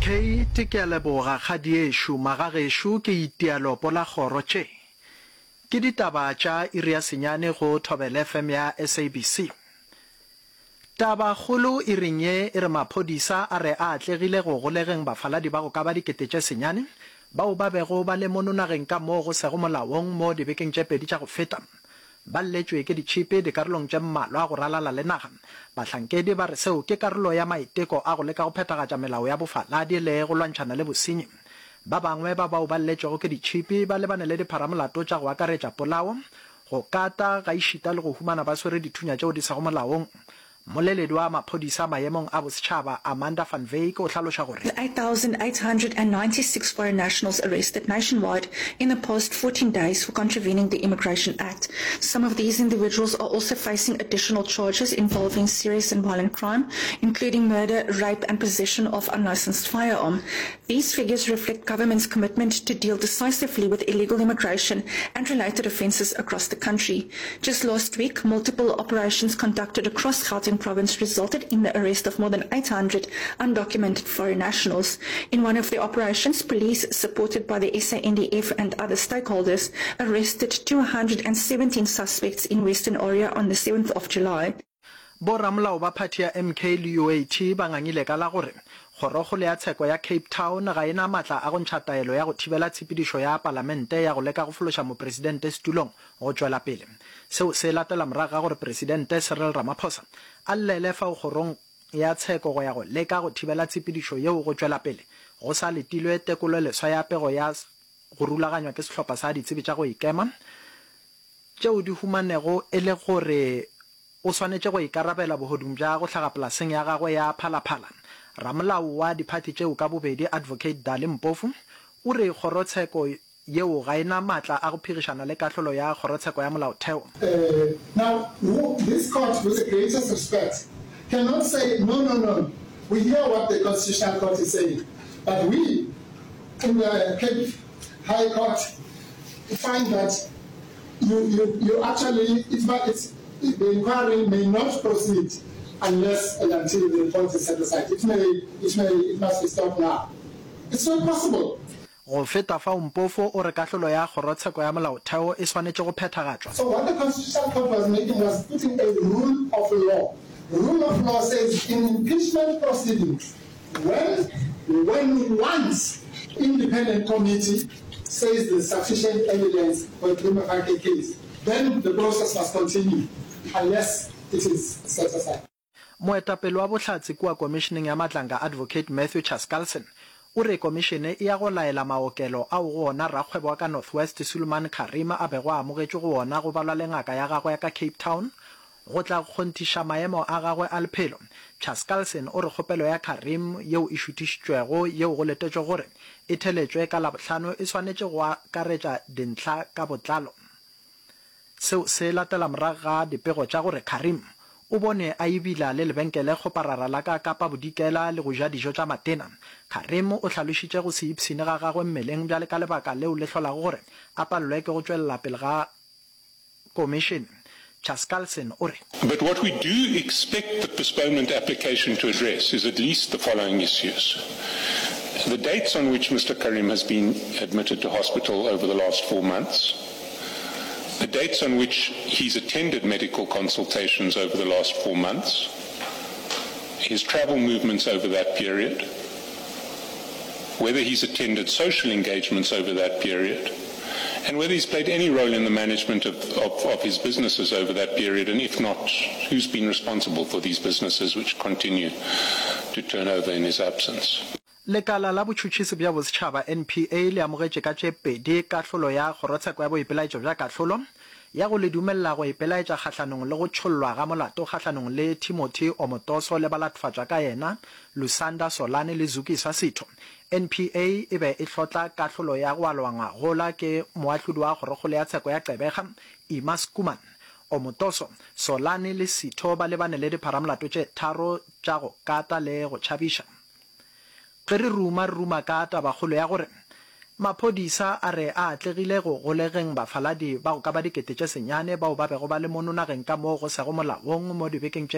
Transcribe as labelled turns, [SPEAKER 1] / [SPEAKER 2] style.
[SPEAKER 1] Kate, Ke a leboga, kgadiešo. Magagešo, ke itia lopo la kgoro. Tše ke ditaba tša iri ya senyane go Thobela FM ya SABC. Tabakgolo iring ye e re maphodisa a re a atlegile go golegeng bafaladi ba go ka ba 9,000 bao ba bego ba le mono nageng ka moo go sego molaong mo dibekeng tše pedi tša go feta. Ba lletšwe ke ditšhipi dikarolong tše mmalwa go ralala le naga. Bahlankedi ba re seo ke karolo ya maiteko a go leka go phethagatša melao ya bofaladi le go lwantšhana le bosenyi. Ba bangwe ba bao ba lletšwego ke ditšhipi ba lebane le dipharamolato tša go akaretša polao, go kata, gaešita le go humana ba swere dithunya tšeo di sego molaong. Mmoleledi wa maphodisa maemong a bosetšhaba, Amanda van Wyk o hlaloša gore.
[SPEAKER 2] 8,896 foreign nationals arrested nationwide in the past 14 days for contravening the Immigration Act. Some of these individuals are also facing additional charges involving serious and violent crime, including murder, rape and possession of unlicensed firearm. These figures reflect government's commitment to deal decisively with illegal immigration and related offences across the country. Just last week, multiple operations conducted across Gauteng province resulted in the arrest of more than 800 undocumented foreign nationals. In one of the operations, police, supported by the SANDF and other stakeholders, arrested 217 suspects in Western Area on the 7th of July.
[SPEAKER 1] Boramolao ba phathi ya MK le UAT ba ngangile ka la gore Kgorokgolo ya Tsheko ya Cape Town ga e na matla a go ntšha taelo ya go thibela tshepedišo ya palamente ya go leka go fološa mopresidente setulong go tšwela pele. Seo se latela morago ga gore Presidente Cyril Ramaphosa a llele fao kgorong ya tsheko go ya go leka go thibela tshepedišo yeo go tšwela pele go sa letilwe tekololeswa ya pego ya go rulaganywa ke sehlopha sa ditsebi tša go ikema tšeo di humanego e le gore o swanetše go ikarabela bohodung bja go hlaga polaseng ya gagwe ya Phalaphala. Ramolao wa diphathi tšeo ka bobedi Advocate Dali Mpofu o re kgorotsheko yeo ga e na matla a go phegišana le kahlolo ya Kgorotsheko ya Molaotheo.
[SPEAKER 3] Now, this court, with the greatest respect, cannot say, no, no, no, we hear what the Constitutional Court is saying, but we in the Cape High Court find that you, you, you actually, it's, it's, the inquiry may not proceed unless and until the report is set aside. It may, it may, it must be stopped now. It's not possible.
[SPEAKER 1] Go feta fao, Mpofu o re kahlolo ya Kgorotsheko ya Molaotheo e swanetše go phethagatšwa.
[SPEAKER 3] So what the Constitutional Court was making was putting a rule of law. Rule of law says in impeachment proceedings, when, when once independent committee says there's sufficient evidence for a prima facie case, then the process must continue unless it is set aside.
[SPEAKER 1] Moetapele wa bohlatse kua Komišeneng ya Matlanga Advocate Matthew Chaskalson o re komišene e ya go laela maokelo ao go ona rakgwebo wa ka North West Sulman Karim a bego a amogetšwe go ona go balwa le ngaka ya gagwe ya ka Cape Town go tla kgonthiša maemo a gagwe a lephelo. Chaskalson o re kgopelo ya Karim yeo e šuthišitšwego yeo go letetšwego gore e theletšwe ka Labohlano e swanetše go akaretša dintlha ka botlalo. Seo se latela morago ga dipego tša gore Karim o bone a ebila le lebenkele kgoparara la ka Kapa Bodikela le go ja dijo tša matena. Karim o hlalošitše go se ipshine ga gagwe mmeleng bjale ka lebaka leo le hlolago gore a palelwe ke go tšwelela pele ga komišene. Chaskalson o re.
[SPEAKER 4] But what we do expect the postponement application to address is at least the following issues. The dates on which Mr Karim has been admitted to hospital over the last four months, the dates on which he's attended medical consultations over the last four months, his travel movements over that period, whether he's attended social engagements over that period, and whether he's played any role in the management of, of, of his businesses over that period, and if not, who's been responsible for these businesses which continue to turn over in his absence.
[SPEAKER 1] Lekala la Botšhotšhisi bja Bosetšhaba, NPA, le amogetše ka tše pedi kahlolo ya Kgorotsheko ya Boipelaetšo bja Kahlolo ya go le dumelela go ipelaetša kgahlanong le go tšhollwa ga molato kgahlanong le Timothy Omotoso le balatfatšwa ka yena Lusanda Solani le Zukiswa Sitho. NPA e be e hlotla kahlolo ya go alwa ngwagola ke moahlodi wa Kgorokgolo ya Tsheko ya Gqeberha, Ima Schoeman. Omotoso, Solani le Sitho ba lebane le dipharamolato tše tharo tša go kata le go tšhabiša. Ge re ruma, re ruma ka tabakgolo ya gore maphodisa a re a atlegile go golegeng bafaladi ba go ka ba 9,000 bao ba bego ba le mono nageng ka moo go sego molaong mo dibekeng tše.